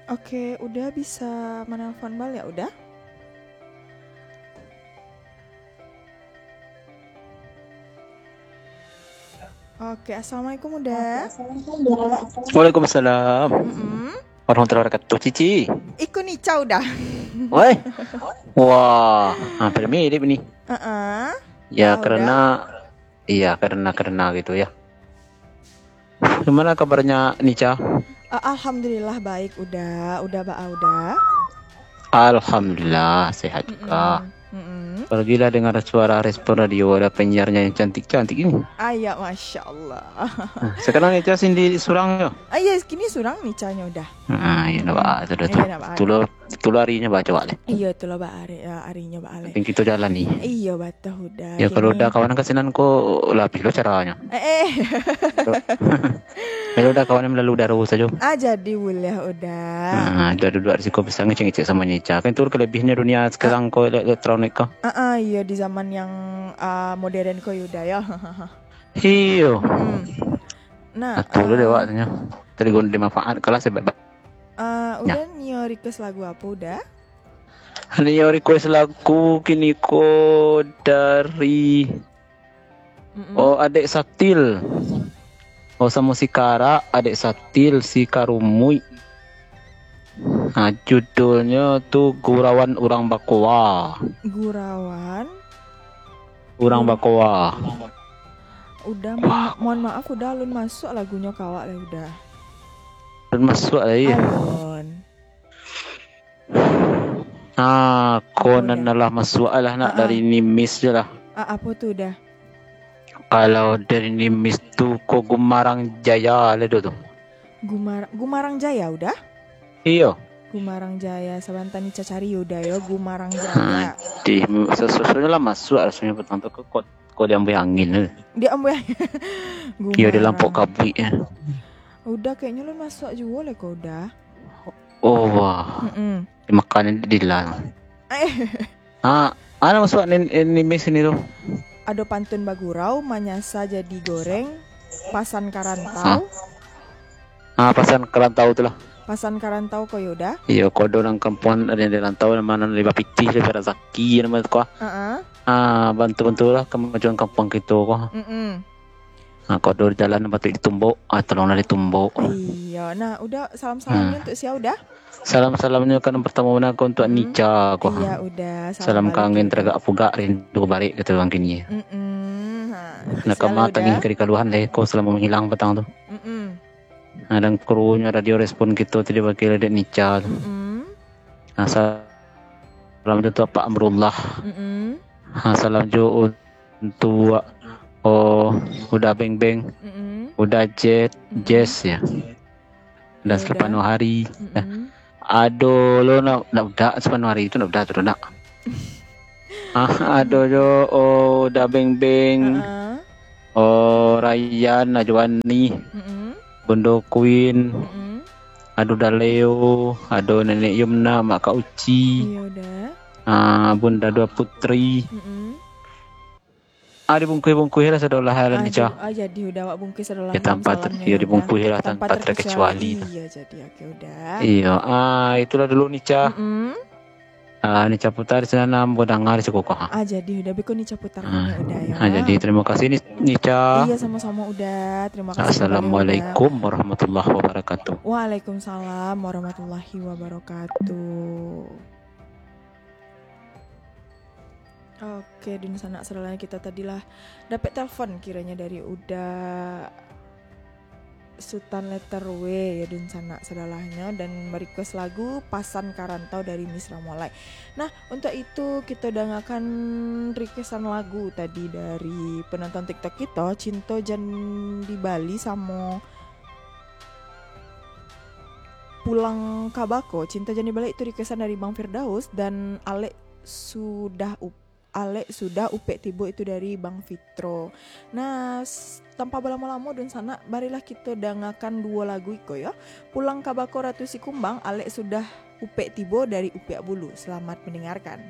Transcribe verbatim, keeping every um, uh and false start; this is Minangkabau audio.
Oke, Uda bisa menelpon balik, Uda? Oke, assalamualaikum, Uda. Waalaikumsalam. Mm-mm. Warahmatullahi wabarakatuh, Cici. Iko Nica, Uda. Woi. Wah, hampir mirip ni. Uh-uh. Ya, karena, iya, karena, karena gitu ya. Gimana kabarnya, Nica? Uh, alhamdulillah baik, Uda. Uda baa, Uda? Alhamdulillah, sehat juga. Mm-mm. Mm-mm. Barulah dengar suara respon radio, ada penyiarnya yang cantik-cantik ini. Ayo, Masya Allah. Nah, sekarang Nica sendiri surang yo? Ah, iya, kini surang Nicanya, Uda. Ah, iya, nak baa tu dah tu. Iya, nak baa. Tulo, tulo arinyo baa cowok leh. Iya, tulo baa ari, ah, arinyo baa leh. Tapi kito jalani. Iya, batoh, Uda. Ya, kalau Uda kawan kasinan ko, lah apo lo caranyo. Eh, eh. Kalau Uda kawan melalui udara sajo. Ah, jadi buliah, Uda. Ah, Uda duduak di siko bisa ngecek-ngecek samo Nica. Kan itu kelebihannya dunia sekarang ko, ele-, elektronik ko. Ah, ah, iya, di zaman yang, ah, modern ko, Uda, ya. Iyo. Hmm. Nah, atuh lo, ah, dewaknyo. Tadi gunde manfaat kalah sebab. Ah, Uda nio request lagu apo, Uda? Nio request lagu kini ko dari, mm-mm, oh, Adek Satil. Oh, samo si Karak, Adek Satil, si Karumuik. Nah, judulnyo tu Gurauan Urang Bakoa. Gurauan Urang Bakoa. Uda, mohon, mohon maaf, Uda, alun masuak lagunyo ka awak lai, Uda. Alun masuak lai, yo? Alun. Ah, ko nan alah masuak lah, nak, dari Nimis je lah. Ah, apo tu, Uda? Kalau dari Nimis tu, ko Gumarang Jaya lah do tu. Gumar-, Gumarang Jaya, Uda? Iyo. Gumarang Jaya, sabanta Nica cari, Uda, yo, Gumarang Jaya. Ha, di, sesuai lah masuak rasonyo patang tu, ko, ko, ko diambuih angin tu. Diambuih angin. Iyo, di lampok kabuik, yo. Uda, kayaknyo alun masuak juo lai ko, Uda. Oh, wah. Mm-mm. Dimakan di dilan. Eh. Ah, ado masuak Nimis sini tu. Ado pantun bagurau, manyasa jadi goreng, pasan ka rantau. Ah, pasan ka rantau tu lah. Pasan ka rantau ko, yo, Uda? Iyo, ko ado nan kampuang, ado nan di rantau, namo nan di bapitih, di Razaki, namo tu ko. Heeh. Ah, bantu-bantulah kemajuan kampuang kito ko. Mm-mm. Nah, ko ado jalan patuik ditumbok, ah, tolonglah ditumbok. Iyo. Nah, Uda, salam-salamnyo untuak sia, Uda? Salam-salamnyo kan pertamo bana ko untuak Nica ko. Iya, Uda. Salam kangen taragak pugak, rindu barek kato urang kini. Mm-mm. Ha, nak kama tangih ka dikaluahan lai ko salamo manghilang patang tu. Mm-mm. Nah, dan krunyo radio Respon kito tadi wakil dek Nica tu. Mm-mm. Nah, salam jo tu Apak Amrullah. Mm-mm. Nah, salam jo untuak, oh, Uda Beng Beng, mm-mm, Uda Jet, mm-mm, Jess, ya. Dan Uda. Sapanuah hari. Mm-mm. Ado lo nak, nak Uda sapanuah hari tu, nak Uda tu nak. Ah, ado jo, oh, Uda Beng Beng. Heeh. Oh, Rayyan, Najwani. Mm-mm. Bundo Queen. Mm-mm. Ado Uda Leo, ado Nenek Yumna, Mak Kak Uci. Iyo, Uda. Ah, Bunda Dua Putri. Mm-mm. Ah, dibungkuih-bungkuih lah sadolah, ah, Nica. Jadi, ah, jadi Uda awak bungkuih sadolah. Ya, tanpa ter-, salamnyo, ya, Uda. Dibungkuih lah tanpa, tanpa terkecuali. Terkecuali. Iya, jadi, oke, Uda. Iya, ah, itulah dulu, Nica. Mm-mm. Ah, Nica putar di sinan, ambo danga di siko ko, ha. Ah, jadi Uda, beko Nica putar, ah, Uda, ya. Ah, jadi terima kasih, Ni-, Nica. Iya, sama-sama, Uda. Terima kasih kembali, Uda. Assalamualaikum warahmatullahi wabarakatuh. Waalaikumsalam warahmatullahi wabarakatuh. Oke, dunsanak sadolahnyo, kito tadi lah dapek telepon kiranya dari Uda Sutan letter W, ya, dunsanak sadolahnyo, dan merequest lagu Pasan Karantau dari Miss Ramolai. Nah, untuak itu kito dangakan requestan lagu tadi dari penonton TikTok kito, Cinto Jan di Bali samo Pulang ka Bako. Cinto Jan di Bali itu requestan dari Bang Firdaus, dan Alek sudah up-, Alek sudah upek tibo itu dari Bang Fitro. Nah, s-, tanpa balamo-lamo, dunsanak, marilah kito dangakan duo lagu iko, yo. Pulang ka Bako Ratu Sikumbang, Alek sudah upek tibo dari Upiak Bulu. Selamat mendengarkan.